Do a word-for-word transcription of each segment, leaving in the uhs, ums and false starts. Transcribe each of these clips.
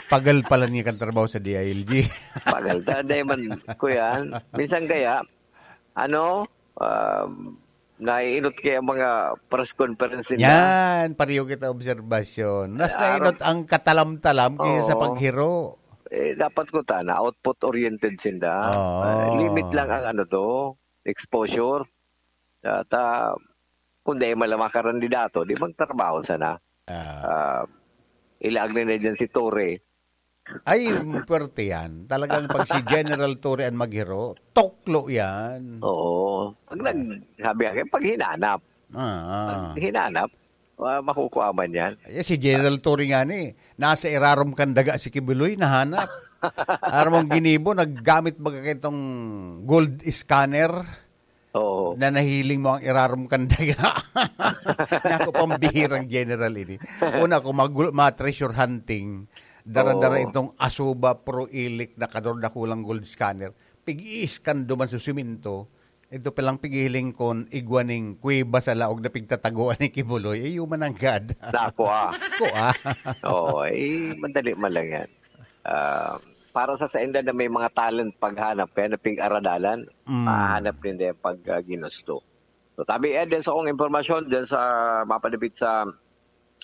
Pagal pala niya kan trabaho sa D I L G. Pagal ta, dahil man, kuya, minsan kaya, ano, um, naiinot kaya ang mga press conference nila. Yan, pareho kita obserbasyon. Mas Ah, nainot aram- ang katalam-talam kaysa sa Oo. paghiro. Eh, dapat ko ta na output-oriented sinda. Oo. Ah, limit lang ang ano to, exposure. At, ah, kung dahil man lang mga karandidato, di magtrabaho sana. Ah. Ah, ilaag na na dyan si Torre. Ay, puwerte yan. Talagang pag si General Torre ang maghiro, tuklo yan. Oo. Pag nag-, sabi nga, pag hinanap. Ah, ah. Pag hinanap, ah, makukuha man yan. Eh, si General Torre nga ni, nasa irarom kan daga si Kibuloy, nahanap. Aram mong ginibo, naggamit baga kaitong gold scanner Oo. na nahiling mo ang irarom kan daga. Naku, pambihirang general ini. Una ko, magul-, ma-treasure hunting. Dara-dara Oo. itong Asuba Pro Elite na kadordakulang gold scanner. Pig-iiskan duman sa simento. Ito palang pighihiling kon igwa ning kuweba sa laog na pigtatagoan ni Kibuloy. Eh, human nanggad. Naku, ah. Ko, ah. Oo, eh, madali man lang yan. Ah, para sa sainda na may mga talent paghanap, kaya napig-aradalan, Mm. mahanap ninda yan pag, ah, ginusto. So, tabi, eh, din sa akong impormasyon, din sa mapadapit sa,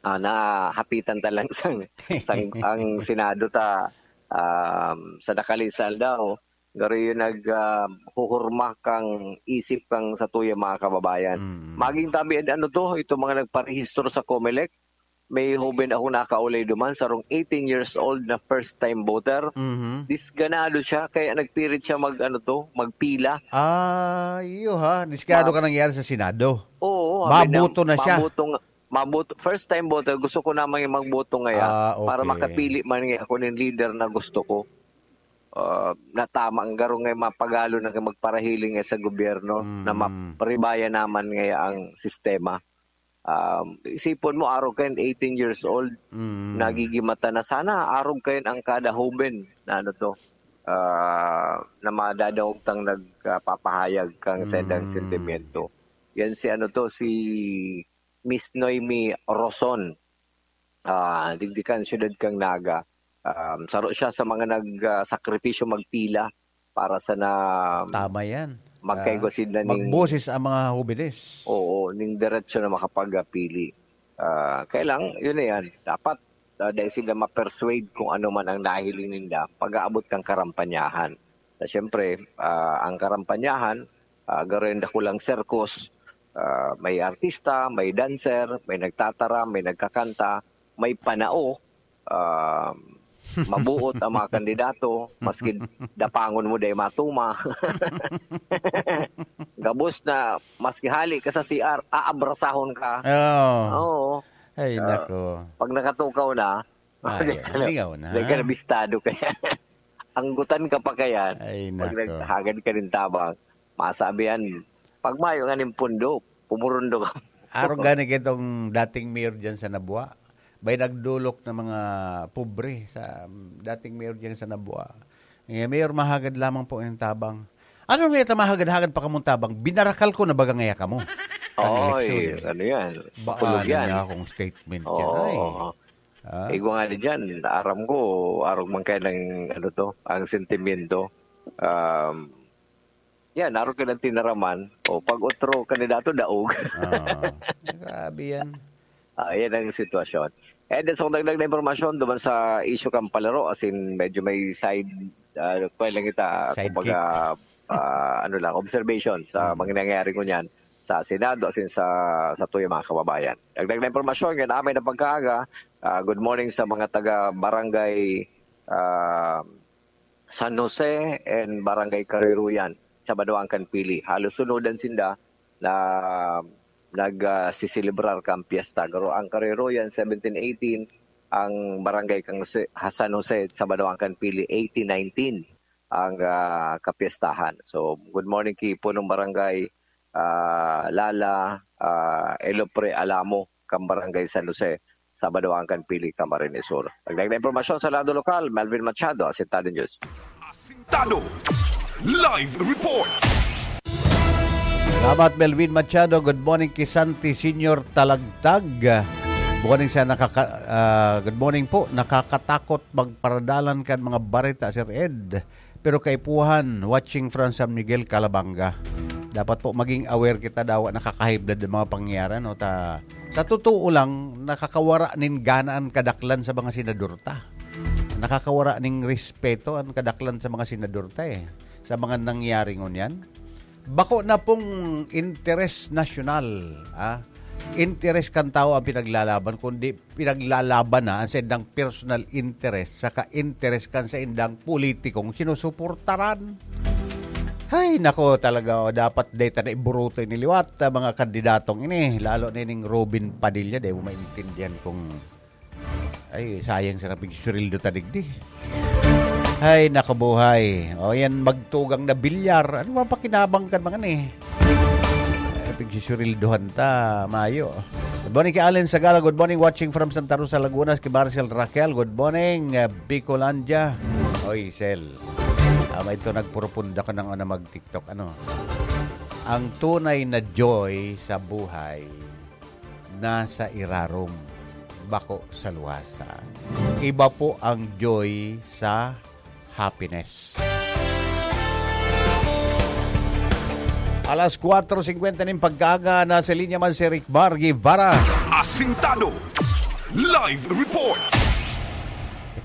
ah, nahapitan ta lang sang, sang, ang Senado ta, um, sa nakalisal daw, garo yun nag, ah, huhurma kang isip kang sa tuya mga kababayan. Mm. Maging tabi, eh, ano to, itong mga nagparehistro sa Comelec, may hoben ako nakaulay duman, sarong eighteen years old na first time voter. Mhm. Disganado siya, kaya nagpirit siya mag, ano to, magpila. Ah, iyo ha. Disganado Ma- ka nangyari sa Senado? Oo, sabi niya, Maboto na siya? maboto nga, maboto, first time voter, gusto ko namang magboto ngaya Ah, para okay. makapili man ngaya ako ng leader na gusto ko. Ah, natama ang garo nga mapagalo na magparahiling nga sa gobyerno na Mm. mapribaya naman ngaya ang sistema. Um, isipon mo, arog kayan eighteen years old, Mm. nagigimata na. Sana arog kayan ang kada hoben na ano to, ah, na madadangog tang nagpapahayag kang sa indang Mm. sentimento. Yan si ano to, si Miss Noemi Roson. Ah, digdi kan siyudad kang Naga. Um, saro siya sa mga nag, ah, sakripisyo magpila para sa na Tama yan. magkaigwa Ah, sila ning magboses ang mga hobenes. Oo, ning diretso na makapagpili. Ah, kaya lang, yun na yan. Dapat, ah, dahil sila ma-persuade kung ano man ang nahiling ninda, pag-aabot kang karampanyahan. Na siyempre, ah, ang karampanyahan, ah, garo yung dakulang sirkus, ah, may artista, may dancer, may nagtatara, may nagkakanta, may panao, ah, mabuot ang mga kandidato, maski dapangon mo dai matuma. Gabos na, maski hali ka sa C R, aabrasahon ka. Oo. Oo. Ay, Ah, nako. pag nakatukaw na, Ay, lingaw na. Dai ka na bistado kaya. Anggutan ka pa kaya. Ay, Pag nako. naghagad ka nin tabang, masabi yan, pag mayo nga nin pundo, pumurundo ka. Arog gani kitong dating mayor dyan sa Nabua. May nagdolok na mga pobre sa, um, dating mayor dyan sa Nabua. Eh, Mayor, mahagad lamang po yung tabang. Ano nga ito, mahagad-hagad pa kamong tabang? Binarakal ko na baga ngaya kamo? Ang Oy, eleksyon. ano yan? Ba, Makulog ano yan. niya akong statement dyan? Oo. Ay. Ah. Igwa nga di dyan, aram ko, arog man kayo ng, ano to, ang sentimiento. Um, yan, arog ka ng tinaraman. O, pag otro kandidato, daog. Ah, grabe yan. Ah, yan ang sitwasyon. And then, sa dagdag na impormasyon, duman sa issue kang palaro, as in, medyo may side, ah, pa lang kita, Sidekick. kumbaga, ah, ano lang, observation sa Mm. mga nangyayari ngunyan sa Senado, as in, sa, sa tuyo, mga kababayan. Dagdag na impormasyon, yan amay na pagkaaga. Ah, good morning sa mga taga Barangay, ah, San Jose and Barangay Kariruyan sa Badoang kan Pili. Halos sunodan sinda na nag, ah, siselebrar kan piyesta. Garo ang Kariruyan, seventeen eighteen, ang Barangay kan Jose, ha, San Jose sa Badoang kan Pili, eighteen nineteen ang, ah, kapiyestahan. So, good morning ki Punong Barangay, ah, Lala, ah, Elopre Alamo, kan Barangay San Jose, Sabado ang kan Pili, Camarines Sur. Dagdag na impormasyon sa lado lokal, Melvin Machado, Asintado News. Asintado. Live report. Salamat, Melvin Machado. Good morning ki Santi Senior Talagtag. Good morning sa nakaka-, ah, good morning po. Nakakatakot magparadalan kan mga bareta, Sir Ed. Pero kaipuhan, watching from San Miguel, Calabanga. Dapat po maging aware kita, dawa nakakahiblad ang mga pangyayari, no? Ta, sa totoo lang, nakakawara nin gana an kadaklan sa mga senador ta. Nakakawara ning respeto an kadaklan sa mga senador ta, eh. Sa mga nangyari ngunyan. Bako na pong interes nasyonal, ah. Interes kan tao ang pinaglalaban, kundi pinaglalaban na ang saindang personal interest saka interes kan saindang politikong sinusuportaran. Hay, nako talaga, oh, dapat deta na iburuto ini liwat, ah, mga kandidatong ini, lalo na ining Robin Padilla, di mo maintindihan kung, ay, sayang sa kapigsurildo ta digdi. Ay, nakabuhay. O yan, magtugang na bilyar. Ano ba pakinabang kan mga ni? Ay, pigsusurildohan ta, mayo. Good morning kay Allen Sagala. Good morning, watching from Santa Rosa, Laguna. Kay Marcel Raquel, good morning, eh, Bicolandia. Oy, Sel. Tama ito, nagpropunda ka ng ano, mag-TikTok. Ano? Ang tunay na joy sa buhay nasa irarom, bako sa luwasa. Iba po ang joy sa happiness. Alas kwatro singkwenta nin pagkaaga, nasa linya man si Rick Bar Guevara. Asintado. Live report.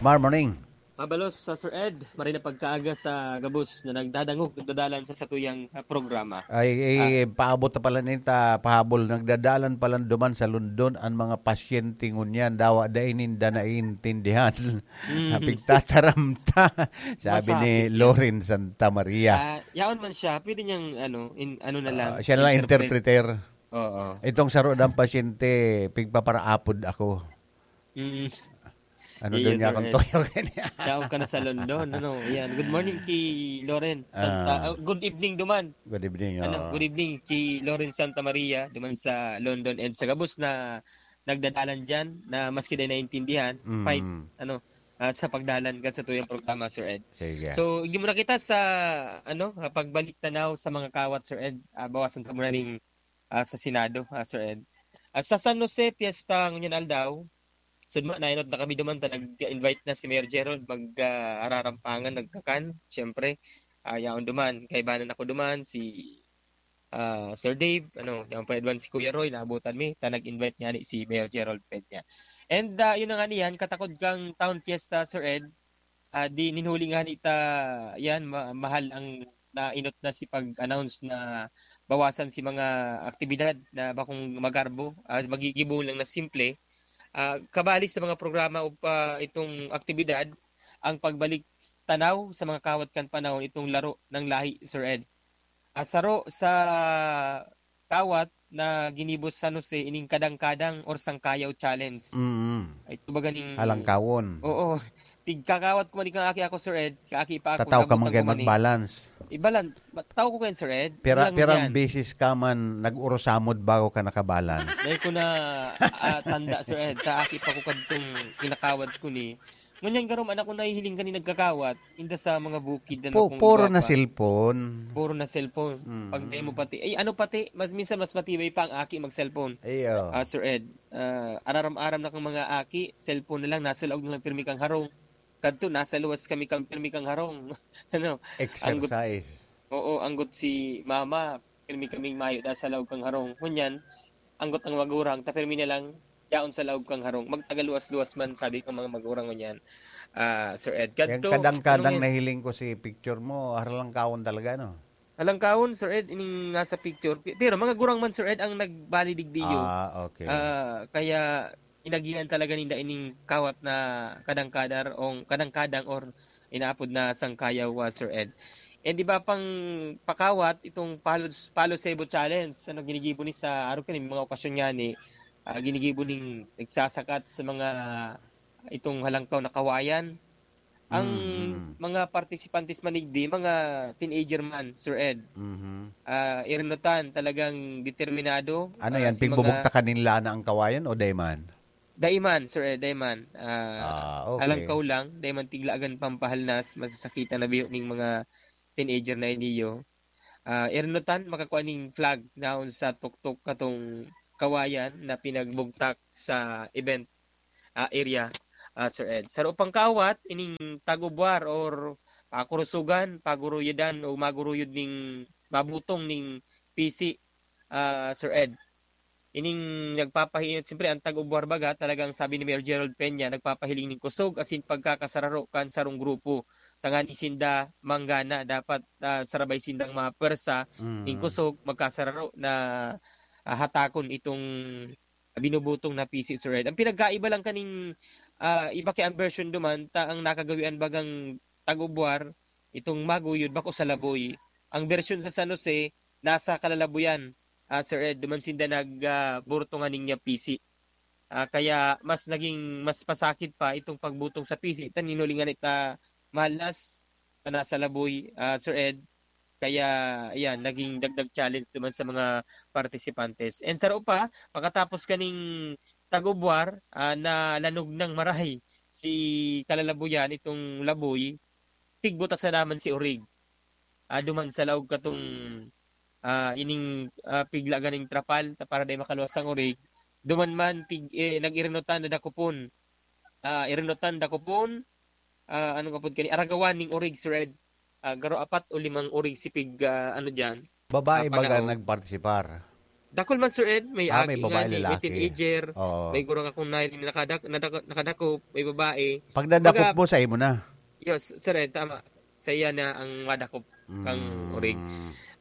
Mar, morning. Mabalos sa Sir Ed, maray na pagkaaga sa gabos na nagdadangog, nagdadalan sa satuyang, ah, programa. Ay, eh, Ah. paabot na pala nita, pahabol. Nagdadalan pala duman sa London ang mga pasyente ngunyan. Dawa, dai ninda naiintindihan. Mm. Pigtataramta, sabi ni Masakit yun. Loren Santa Maria. Ah, yaon man siya, pwede niyang, ano, in-, ano na lang, Ah, siya na lang interpret. interpreter. Oo. Itong saro ng pasyente, pigpaparaapod ako. Mm. Ano Iyo, daw niya akong Loren. toyo kanya? Daog ka na sa London, ano? Yan. Good morning kay Loren. Santa, Ah. ah, good evening duman. Good evening, Ano, oo. good evening kay Loren Santa Maria duman sa London and sa gabos na nagdadalan diyan na maski di naintindihan, Mm. fight, ano, ah, sa pagdalan kan satuyang programa, Sir Ed. Sige. So, igin mo na kita sa, ano, ah, pagbalik tanaw sa mga kawat, Sir Ed. Ah, bawasan ta muna ning, ah, sa Senado, ah, Sir Ed. At sa San Jose, piyesta ngunyan aldaw. So, ma-, nainot na kami duman ta nag-invite na si Mayor Gerald mag, ah, ararampangan, nagkakan, siyempre. Ah, yaon duman, kaibanan ako duman, si, ah, Sir Dave, ano, yaon pa duman si Kuya Roy, naabutan mi, ta nag-invite niya ni si Mayor Gerald Peña. And, ah, yun na nga niyan, katakod kang Town Fiesta, Sir Ed, ah, di nin huli nga ni ta, yan, ma-, mahal ang nainot na si pag-announce na bawasan si mga aktibidad na bakong magarbo, ah, magigibo lang na simple. Ah, kabali sa mga programa o pa itong aktibidad, ang pagbalik tanaw sa mga kawat kan panahon, itong laro ng lahi, Sir Ed. Ah, saro sa kawat na ginibo sa San Jose, ining kadang-kadang or sangkayaw challenge. Mm. Ay, ito ba ganing Halangkawon. Oo. Tigkakawat ko man ikang aki ako, Sir Ed. Kaaki pa ako, Tataw ka man nabutan kayo ko man eh. mag-balance. Ibalan, ma-, tao ko kayo, Sir Ed. Pira, Ilang pirang yan? beses ka man nag-urusamod bago ka nakabalance? Dahil ko na, ah, tanda, Sir Ed. Kaaki pa ko kadtong kinakawat ko ni. Ngunyan garo man ako nahihiling kani nagkakawat, inda sa mga bukid na Po-, nakong puro na gwapa. cellphone. Puro na cellphone. Mm. Pag dai mo pati, ay, ano pati, mas, minsan mas matibay pa ang aki mag-cellphone. Iyo. Ah, Sir Ed, ah, araram-aram na kang mga aki, cellphone na lang, nasa laog na lang pirmi kang harong. Kadto, nasa luwas kami kang pirmi kang harong. Ano? Anggot, Exercise. oo, anggot si mama, pirmi kaming mayo da sa laog kang harong. Ngunyan, anggot ang magurang, ta pirmi na lang, yaon sa laog kang harong. Magtagaluwas-luwas man, sabi kang mga magurang ngunyan. Ah, Sir Ed, Yan kadto, kadang-kadang ano yan? nahiling ko si picture mo, haralangkaon talaga, no? Halangkaon, Sir Ed, ining nasa picture. Pi-, pero mga gurang man, Sir Ed, ang nagbali digdiyo. Ah, okay. Ah, kaya inagihan talaga ninda ining kawat na kadang-kadar o kadang-kadang or inaapod na sangkayaw, ah, Sir Ed. And iba pang pakawat, itong Palo, Palo Sebo Challenge, ano, ginigibo ni sa, araw kani, mga okasyon nga ni, ah, ginigibo ning nagsasakat sa mga itong halangkaw na kawayan. Ang Mm, mm. mga partisipantes man digdi, mga teenager man, Sir Ed. Mhm. Ah, irinutan, talagang determinado, Ano ah, yan, si mga pigbubugtakan nin lana ang kawayan o dai man? Dai man, Sir Ed, dai man. Ah, Ah, okay. halangkaw lang, dai man tiglagan pampahalnas, masasakitan na biyo ning mga teenager na iniyo. Ah, irinutan, makakua ning flag naon sa tuktok katong kawayan na pinagbugtak sa event, ah, area, ah, Sir Ed. Sa pangkawat, ining tag-ubwar or pakurusugan, paguruyudan o maguruyod ning mabutong ning pisi, ah, Sir Ed. Ining nagpapahi-, siyempre, ang tag-ubwar baga, talagang sabi ni Mayor Gerald Peña, nagpapahiling ning kusog asin pagkakasararo kan sarong grupo. Tanganing sinda manggana, dapat, ah, sarabay sindang mga pwersa, ning Mm. kusog, magkasararo na, ah, hatakon itong binubutong na pisi, Sir Ed. Ang pinagkaiba lang kaning, ah, iba kaya ang version duman, ta ang nakagawian bagang tag-ubwar, itong maguyod, bako sa laboy. Ang version sa San Jose, nasa kalalabuyan, ah, Sir Ed, duman sinda nag, ah, burto nganing niya pisi. Ah, kaya mas naging, mas pasakit pa itong pagbutong sa pisi. Tan hinulingan ita malas na nasa laboy, ah, Sir Ed. Kaya, ayan, naging dagdag challenge duman sa mga participantes. And saro pa, pakatapos kaning tag-ubwar, ah, nalanog nang marahay si kalalabuyan, itong laboy, pigbutas na naman si Orig. Ah, duman sa laog katong, ah, ining, ah, pigla ganing trapal ta para dai makaluwas ang Orig. Duman man, pig-, eh, nag-irinutan na dakopon. Ah, irinutan, dakopon, ah, ano nga pod kani, aragawan ning Orig, Sir Ed. Ah, garo apat o limang Orig si pig, ah, ano diyan, Babae ah, baga pagahon. nagpartisipar? Dakul man, Sir Ed, may Ah, may agi babae, ngani, may lalaki. teenager, Oo. may gurang akong nahiling nakadak-, nadak-, nakadakop, may babae. Pag nadakop Baga, mo, sa imo na? Yes, Sir Ed, tama. Saiya na ang madakop kang Mm. Orig.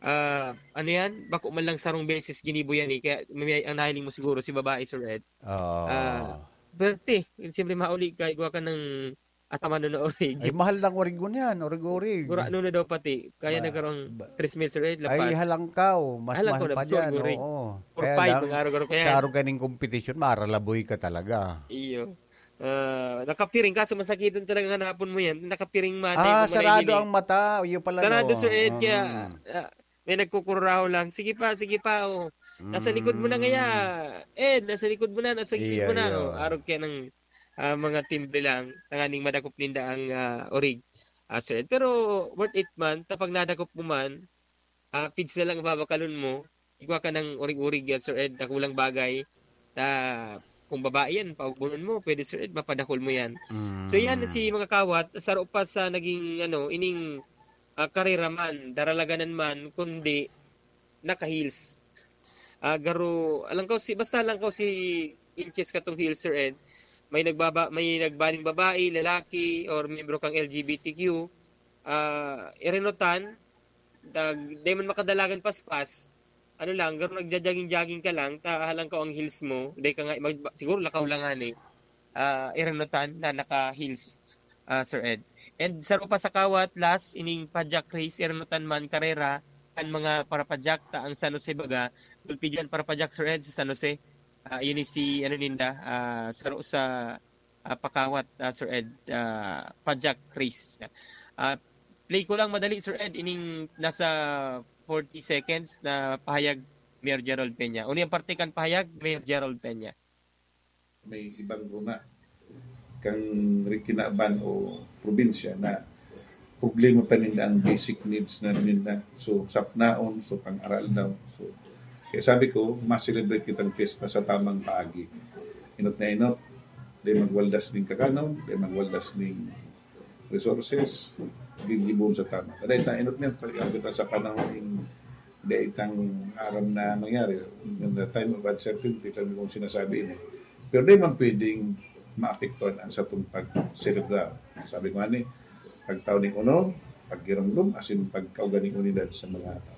Ah, ano yan? Bako man lang sarong beses ginibo yan eh. Kaya may, ang nahiling mo siguro si babae, Sir Ed. Oo. Ah, perte. Siyempre, mauli ka, igwa ka ng ataman na Orig. Ay, mahal lang Orig ngunyan, Orig-Orig. Gurano na daw pati. Kaya Ba-, nagkaroon ba-, tres mil, Sir Ed, ay, lapas. Halangkaw. Mas Halangkaw mahal na, pa dyan, Orig. Oo. Four Kaya five, lang, mga araw-araw kaya. sa araw kaning competition, maralaboy ka talaga. Iyo. Ah, nakapiring, kaso masakiton talaga hanapon mo yan. Nakapiring man, Ah, tayo sarado manahimili. ang mata. Iyo pala, Sarado, no? Sir Ed, kaya, Mm. ah, may nagkukururahaw lang. "Sige pa, sige pa, oh. Nasa likod mo na ngaya. Mm. Ed, nasa likod mo na, nasa likod Iya, mo na." iya. Oh, arog kaya ng, ah, mga timbre lang. Tanganing madakop ninda ang, ah, Orig, ah, Sir Ed. Pero worth it man, ta pag nadakop mo man, ah, feeds na lang ang babakalon mo. Igwa ka ng Orig-Orig yan, Sir Ed, dakulang bagay. Ta, kung babae yan, paugbonon mo, pwede, Sir Ed, mapadakol mo yan. So, yan Mm. si mga kawat, saro pa sa naging, ano, ining, ah, karera man, daralaganan man, kundi naka-heels. Ah, garo, alam ko si, basta lang ko si inches katong heels, Sir Ed. May nagbaba-, may nagbaling babae, lalaki, or miyembro kang L G B T Q, ah, irinutan, dag-, di man makadalagan paspas, ano lang, garo nagja-jogging-jogging ka lang, ta halang ka ang heels mo, di ka nga, mag-, siguro lakaw lang, ani. Ah, irinutan na naka-heels, ah, Sir Ed. And saro pa sa kawat, last, ining padyak race, irinutan man karera, kan mga parapadyak, ta ang San Jose baga, gulpi dyan parapadyak, Sir Ed, sa San Jose. Ah, yun is si, ano ninda, ah, saro sa, ah, pakawat, ah, Sir Ed, ah, padyak race. Ah, play ko lang madali, Sir Ed, ining nasa forty seconds na pahayag Mayor Gerald Peña. Uni ang parte kan pahayag, Mayor Gerald Peña. May ibang runa kang ri-, kinaban o probinsya na problema pa ninda ang basic needs na ninda. So, sapnaon, so, pang-aral daw. So, kaya sabi ko, ma-celebrate kitang piyesta sa tamang paagi. Inot na inot, di magwaldas ning kakanon, di magwaldas ning resources, gigibon sa tama. Kada ita, inot niya, pag kita sa panahon ning di itang aram na mangyari, in the time of uncertainty, kami kung sinasabi ini. Pero di man pwedeng maapektuhan ang satong pag-celebrar. Sabi ko ani, pagtao ning uno, paggiromdom, asin pagkauga ning unidad sa mga tao.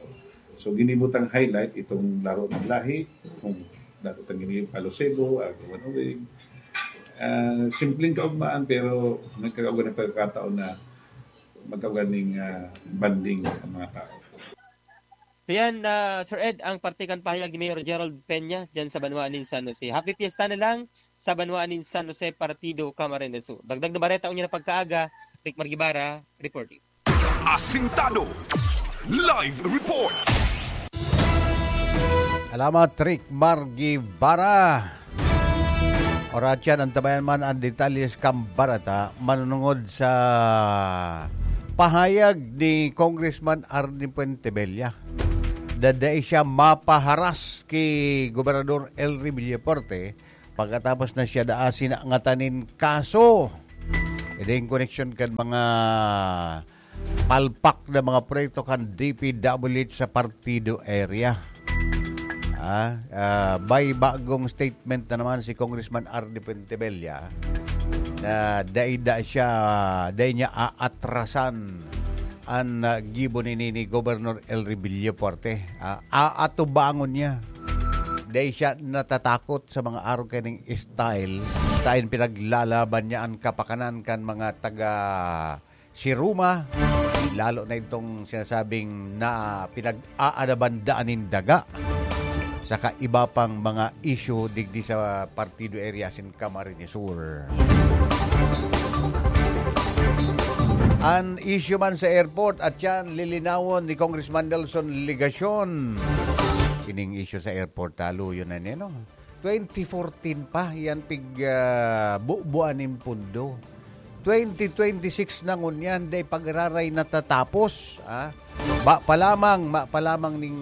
So, ginibutang highlight itong laro ng lahi, kung dati itang ginibutang Palo Sebo, Agawan Uwing. Ah, simpleng kaugmaan, pero nagkakauga ng pagkakataon na magkauga ning, ah, banding ang mga tao. So yan, ah, Sir Ed, ang parte kan pahayag ni Mayor Gerald Peña dyan sa banwa nin San Jose. Happy Fiesta na lang sa banwa nin San Jose, Partido Camarines Sur. Dagdag na bareta, unya na pagkaaga, Rick Margibara, reporting. Asintado. Live report. Salamat, Rick Margibara. Oratyan, antabayan man ang detalye sa kambarata, manunungod sa pahayag ni Congressman Arnie Fuentebella. na dai siya mapaharas ki Gobernador Elry Villafuerte pagkatapos na siya daa sinangatan nin kaso. Ida in koneksyon kan mga palpak na mga proyekto kan D P W H sa Partido area. Ah, ah, may bagong statement na naman si Congressman Arnie Fuentebella na dai da siya, dai niya aatrasan an, ah, gibo ni, ni, ni Gobernador Elry Villafuerte. Ah, aatubangon niya. Dai siya natatakot sa mga arog kaning style. Dai pinaglalaban niya an kapakanan kan mga taga si Roma, lalo na itong sinasabing na pinag-aanaban daan nin daga, saka iba pang mga isyu digdi sa Partido Area asin Camarines Sur. An isyu man sa airport, at yan, lilinawon ni Congressman Nelson Legacion. Ining isyu sa airport, taluyon na niya, no? Twenty fourteen pa, yan pig, ah, bubuan nin pundo. Twenty twenty-six na ngunyan, dai pa giraray natatapos, ah. Ba pa lamang, ma pa lamang ning,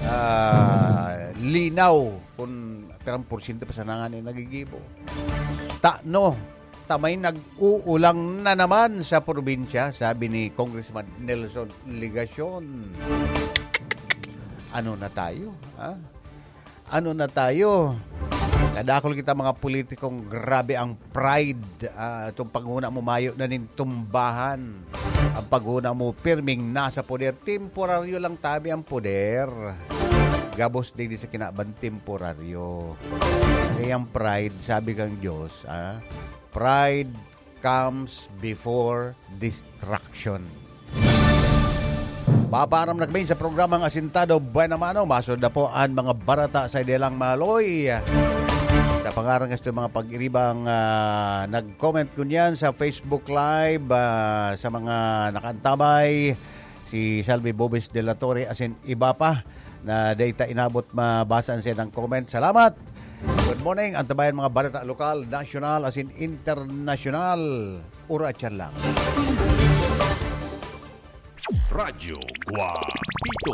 ah, linaw kung pirang porsyento pa sana ngani nagigibo. Tano, ta may nag-uulang na naman sa probinsya, sabi ni Congressman Nelson Legacion. Ano na tayo, ha? Ano na tayo? Kadakul kita mga politikong grabe ang pride. Ah, itong paghuna mo mayo na nin tumbahan. Ang paghuna mo pirming nasa poder. Temporaryo lang tabi ang poder. Gabos digdi sa kinaban temporaryo. Kaya ang pride, sabi kang Diyos, ah, pride comes before destruction. Papaaram na kami sa programang Asintado Buena Mano. Masunod na po ang mga barata sa Idelang Maloy. Sa pangaran nga sa mga pag-iribang, ah, nag-comment kunyan sa Facebook Live, ah, sa mga nakaantabay, si Salvi Bobes de la Torre, asin iba pa na data inabot mabasa ang silang comment. Salamat! Good morning, antabayan mga balita lokal, nasyonal, asin internasyonal. Oras yan lang. Radyo Guapito.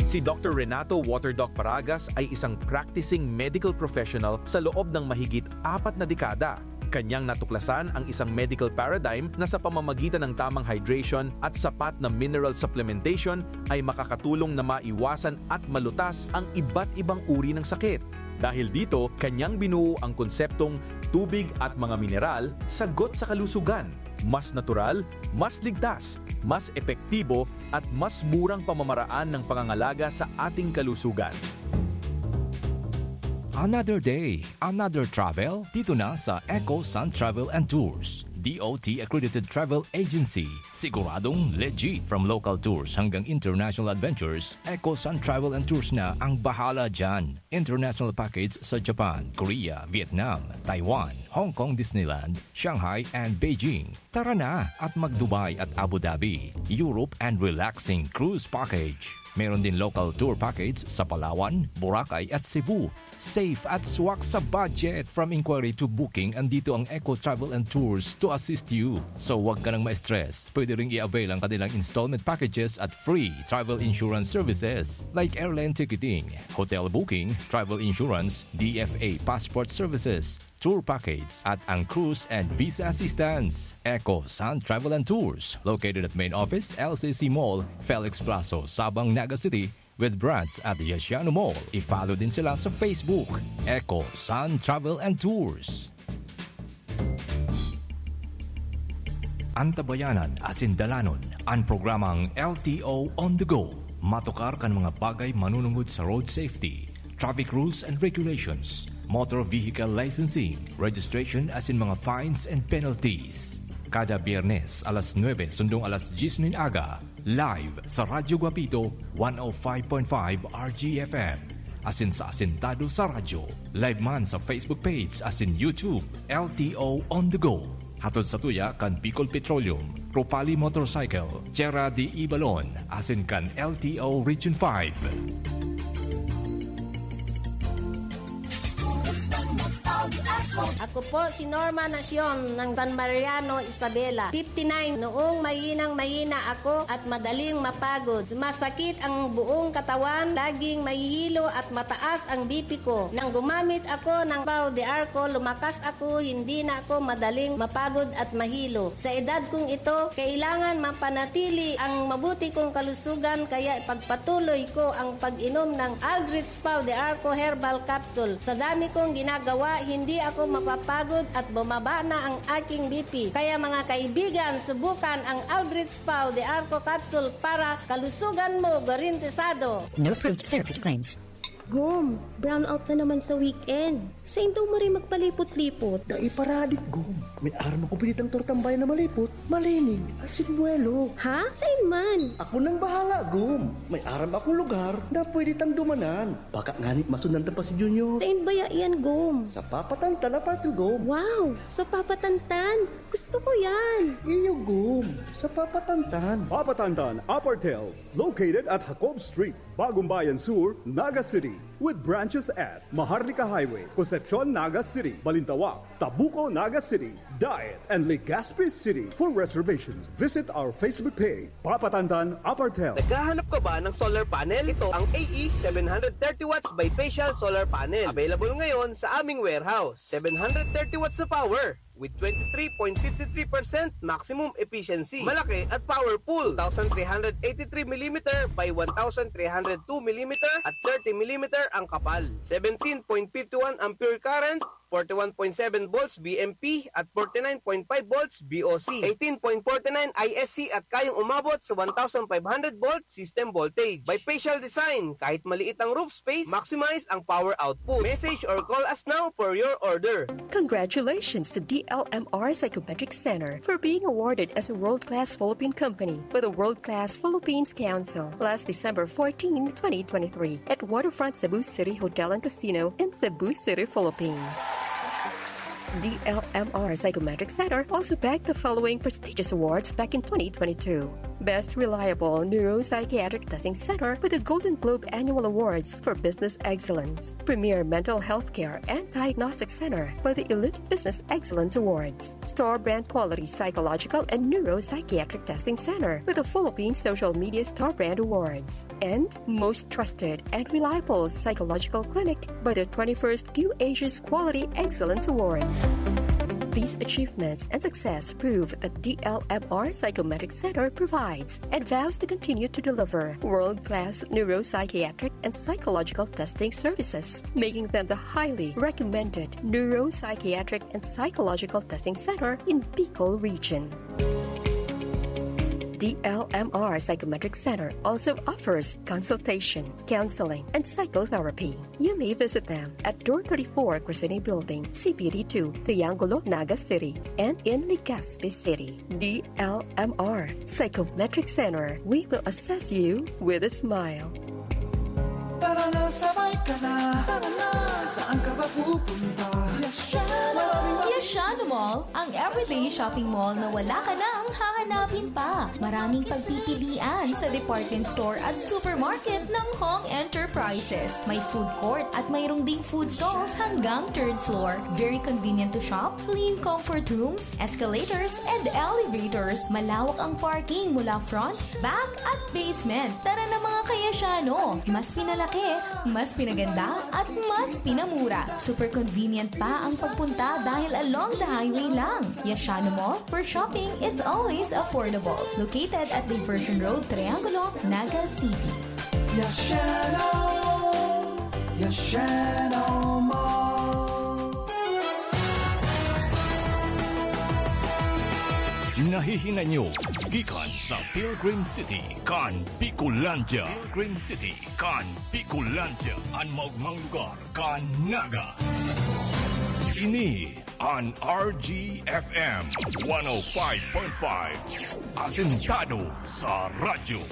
Si Doktor Renato Waterdoc Paragas ay isang practicing medical professional sa loob ng mahigit apat na dekada. Kanyang natuklasan ang isang medical paradigm na sa pamamagitan ng tamang hydration at sapat na mineral supplementation ay makakatulong na maiwasan at malutas ang iba't ibang uri ng sakit. Dahil dito, kanyang binuo ang konseptong tubig at mga mineral, sagot sa kalusugan. Mas natural, mas ligtas, mas epektibo, at mas murang pamamaraan ng pangangalaga sa ating kalusugan. Another day, another travel, dito na sa Eco Sun Travel and Tours, D O T accredited travel agency. Siguradong legit. From local tours hanggang international adventures, Eco Sun Travel and Tours na ang bahala dyan. International package sa Japan, Korea, Vietnam, Taiwan, Hong Kong Disneyland, Shanghai, and Beijing. Tara na at mag-Dubai at Abu Dhabi, Europe, and relaxing cruise package. Meron din local tour package sa Palawan, Boracay, at Cebu. Safe at swak sa budget. From inquiry to booking, andito ang Eco Travel and Tours to assist you. So, wag ka nang ma-stress. Pwede ring i-avail ang kanilang installment packages at free travel insurance services like airline ticketing, hotel booking, travel insurance, D F A passport services, tour package, at ang cruise and visa assistance. Eco Sun Travel and Tours, located at main office, L C C Mall, Felix Plazo, Sabang, Naga City, with branch at Yasiano Mall. I-follow din sila sa Facebook, Eco Sun Travel and Tours. Antabayanan asin dalanon an programang L T O On The Go. Matukar kan mga bagay manunungod sa road safety, traffic rules and regulations, motor vehicle licensing, registration asin mga fines and penalties. Kada Biyernes, alas nuebe sundong alas dyes nin aga, live sa Radyo Guapito, one oh five point five R G F M. Asin sa Asintado sa Radyo. Live man sa Facebook page asin YouTube, L T O On The Go. Hatod sa tuya kan Bicol Petroleum, Ropali Motorcycle, Tierra de Ibalon, asin kan L T O Region five. Kumusta ang Ako po si Norma Nacion ng San Mariano, Isabela, fifty-nine. Noong mahinang-mahina ako at madaling mapagod, sumasakit ang buong katawan, laging mahihilo at mataas ang B P ko. Nang gumamit ako ng Pau de Arco, lumakas ako, hindi na ako madaling mapagod at mahilo. Sa edad kong ito, kailangan mapanatili ang mabuti kong kalusugan, kaya ipagpatuloy ko ang pag-inom ng Aldrich Pau de Arco Herbal Capsule. Sa dami kong ginagawa, hindi ako mapapagod at bumaba na ang aking B P. Kaya mga kaibigan, subukan ang Aldrich Pau de Arco Capsule para kalusugan mo garantisado. No approved therapeutic claims. Gum, brownout na naman sa weekend. Sain daw maray magpalipot-lipot? Dai paradik, Gum. May aram ako pinitang tortang bayan na malipot, malining, asin buwelo. Ha? Sain man? Ako nang bahala, Gum. May aram akong lugar na pwede tang dumanan. Baka ngani masundan ta pa si Junior. Sain baya iyan, Gum? Sa Papatantan Apartel, Gum. Wow! Sa Papatantan? Gusto ko yan! Iyo, Gum. Sa Papatantan. Papatantan Apartel, located at Jacob Street, Bagong Bayan Sur, Naga City, with branches at Maharlika Highway, Concepcion, Naga City, Balintawak, Tabuco, Naga City, Daet, and Legazpi City. For reservations, visit our Facebook page, Papatantan Apartel. Naghahanap ka ba ng solar panel? Ito ang A E seven hundred thirty watts bifacial solar panel. Available ngayon sa aming warehouse. Seven hundred thirty watts na power with twenty-three point fifty-three percent maximum efficiency. Malaki at powerful. Two thousand three hundred eighty-three millimeter by one thousand three hundred two millimeter at thirty millimeter ang kapal. Seventeen point fifty-one ampere current, forty-one point seven volts V M P at forty-nine point five volts V O C, eighteen point forty-nine I S C at kayang umabot sa one thousand five hundred volt system voltage. Bifacial design, kahit maliit ang roof space, maximize ang power output. Message or call us now for your order. Congratulations to D L M R Psychometric Center for being awarded as a world-class Philippine company with a world-class Philippines Council last December fourteen, twenty twenty-three, at Waterfront Cebu City Hotel and Casino in Cebu City, Philippines. D L M R Psychometric Center also bagged the following prestigious awards back in twenty twenty-two. Best Reliable Neuropsychiatric Testing Center with the Golden Globe Annual Awards for Business Excellence. Premier Mental Health Care and Diagnostic Center with the Elite Business Excellence Awards. Store Brand Quality Psychological and Neuropsychiatric Testing Center with the Philippine Social Media Store Brand Awards. And most trusted and reliable psychological clinic by the twenty-first Q Asia's Quality Excellence Awards. These achievements and success prove that D L M R Psychometric Center provides and vows to continue to deliver world-class neuropsychiatric and psychological testing services, making them the highly recommended neuropsychiatric and psychological testing center in Bicol Region. D L M R Psychometric Center also offers consultation, counseling, and psychotherapy. You may visit them at Door thirty-four, Crescene Building, C P D two, Triangulo, Naga City, and in Legazpi City. D L M R Psychometric Center, we will assess you with a smile. Tara na, sabay ka na. Tara na, saan ka ba pupunta? Yashano Mall. Maraming mga Yashano Mall, ang everyday shopping mall na wala ka nang hahanapin pa. Maraming pagpipilian sa department store at supermarket ng Hong Enterprises. May food court at mayroong ding food stalls hanggang third floor. Very convenient to shop, clean comfort rooms, escalators, and elevators. Malawak ang parking mula front, back, at basement. Tara na, mga ka-Yashano! Mas pinalaki, mas pinaganda, at mas pinamura. Super convenient pa ang pagpunta dahil along the highway lang. Yashano Mall, where shopping is always affordable. Located at Diversion Road, Triangulo, Naga City. Yashano! Yashano Mall! Nahihinay nyo gikan sa Pilgrim City kan Bicolandia. Pilgrim City kan Bicolandia, an maogmang lugar kan Naga. Ini an R G F M one oh five point five, asentado sa radyo.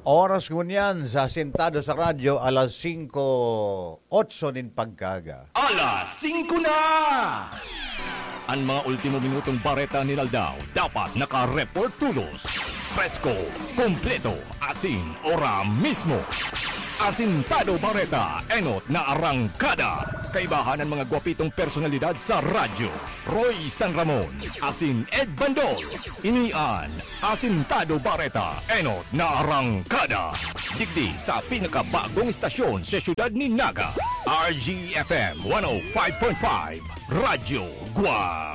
Oras ngunyan sa Asentado sa Radyo, alas singko otso nin pagkaaga. Alas singko na! An mga ultimo minutong bareta nin aldaw dapat naka-report todos. Presko, kompleto, asin ora mismo. Asentado Bareta, enot na arangkada. Kaibahan an mga gwapitong personalidad sa radyo. Roy San Ramon, asin Ed Bandol. Ini an Asintado Bareta, enot na arangkada. Digdi sa pinakabagong istasyon sa siyudad ni Naga, R G F M one oh five point five, Radyo Guapi.